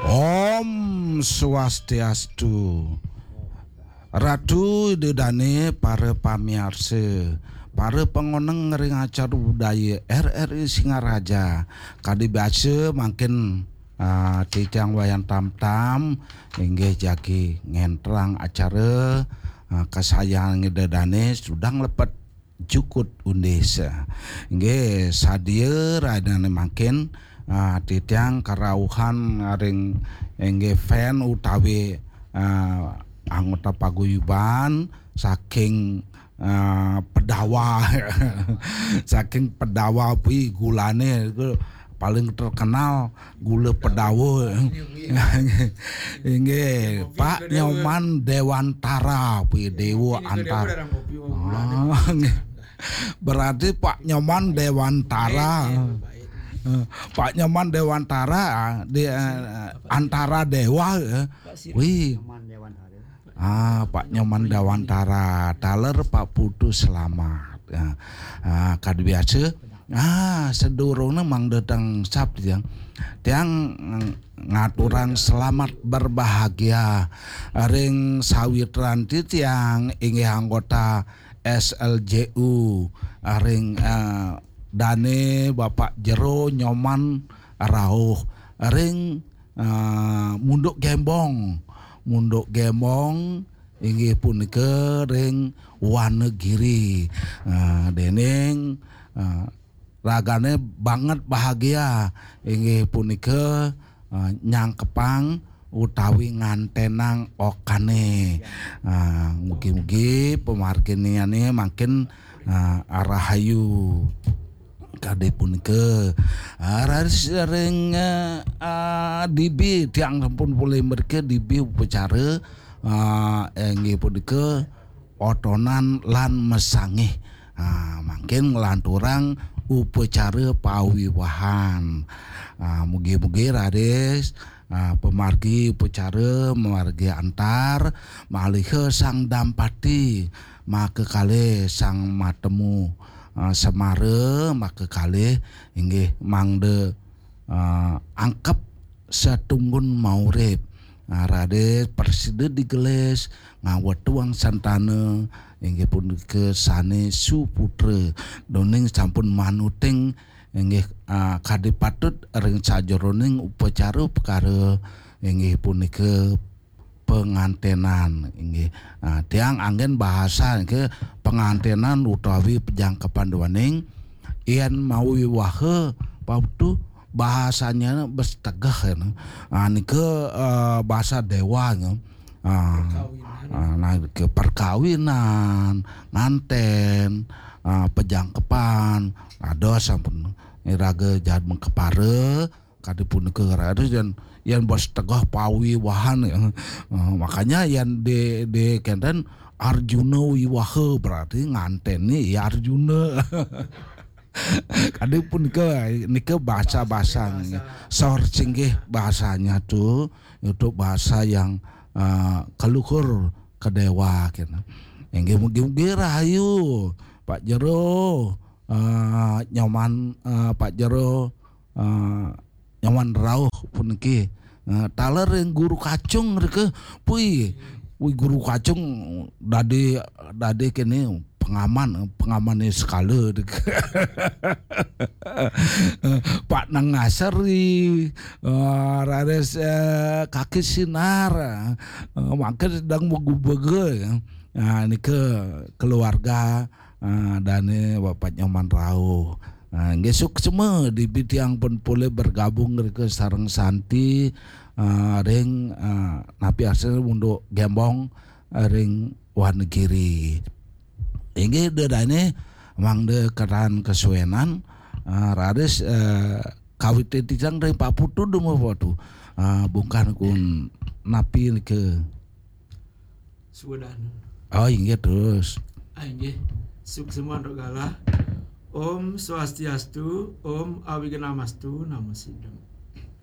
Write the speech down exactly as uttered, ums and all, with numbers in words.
Om Swastiastu. Ratu Ida Dane, para pamiarsa, para pangoneng ring acara budaya R R I Singaraja. Kadi biasa mangkin, ah, titiang Wayan Tamtam inggih jagi ngenterang acara, ah, kasayangan Ida Dane Sudang Lepet Jukut Undis. Inggih sadia rainane mangkin, ah, titiang karauhan ring inggih fan utawi, ah, anggota paguyuban saking, ah, Pedawa. Saking Pedawa, pi gulane iku paling terkenal gula Pedawa. Inggih, Pak Nyoman Dewantara, pi Dewa Antara. Ah, nggih. Berarti Pak Nyoman Dewantara. Eh, Pak Nyoman Dewantara, ah, di, eh, Antara Dewa, eh. Wih. Ah, Pak Nyoman Dewantara, taler Pak Putu Selamat. Ya. Ah, kadi biasa. Ah, sedurunge mangda tang sap tiang. Tiang, mm, ngaturang selamat berbahagia ring sawitran titiang inggih anggota S L J U, ring, eh, dane Bapak Jero Nyoman Rauh, ring, eh, Munduk Gembong. Munduk Gembong inggih punika ring Wanagiri. Eh, dening, eh, ragane banget bahagia inggih punika, eh, nyangkepang utawi ngantenang okane. Eh, mugi-mugi pamarginiane mangkin, eh, rahayu. Kadi punika, eh, raris ring, eh, eh, dibi tiang sampun polih mriki dibi upacara, eh, inggih punika otonan lan mesangih. Ah, mangkin nglanturang upacara pawiwahan. Ah, mugi-mugi raris, ah, pamargi upacara, mamargi antar, maliha sang dampati makakalih, sang matemu, ah, semara makakalih, inggih mangda, ah, angkep satunggun maurip. Ah, raris prasida digelis, ngawetuang santana, inggih punika sane suputra, duning sampun manuting, inggih, ah, kadi patut ring sajeroning upacara upakara, inggih punika pangantenan, inggih. Ah, tiang anggen bahasa ke pangantenan utawi pejangkepan duaning yen mawiwaha, Pak Putu, bahasanya bes tegeh, ya. Ah, nika, eh, bahasa Dewa, ya. Ah, ah, nah, ke perkawinan, nganten, ah, pejangkepan, ada sampun iraga jad mengkepara, kadi punika raris yen, yen bes tegeh pawiwahan, ya. Ah, makanya yen di, di kenten Arjuna wiwaha berarti ngantene ya Arjuna. Kadi punika, nika bahasa-bahasa, sor singgih bahasanya tu, itu bahasa yang, eh, keluhur ke dewa kena. Inggih mugi-mugi rahayu, Pak Jero, eh, Nyoman, eh, Pak Jero, eh, Nyoman Rauh puniki. Eh, taler ring Guru Kacung rika, pui, pui Guru Kacung dadi, dadi kene pengaman, pengamane sekala rika. Pak Nangasari, eh, raris, eh, Kaki Sinar, eh, mangkin sedang begubege, ya. Nah, nika keluarga, ah, dane Bapak Nyoman Rauh. Ah, nggih suksma dibi tiang pun polih bergabung rika sareng Santi, ah, ring, ah, napi asal Munduk Gembong, ah, ring Wanagiri. Inggih dedane mangda keran kesuenan, ah, raris, eh, kawit titiang ring Pak Putu dumun Pak Putu. Ah, bungkah kun napi nika. Suwedan. Oh, inggih terus. Ah, inggih. Suksma antuk galah. Om Swastiastu, Om Awignamastu, Namo Siddham.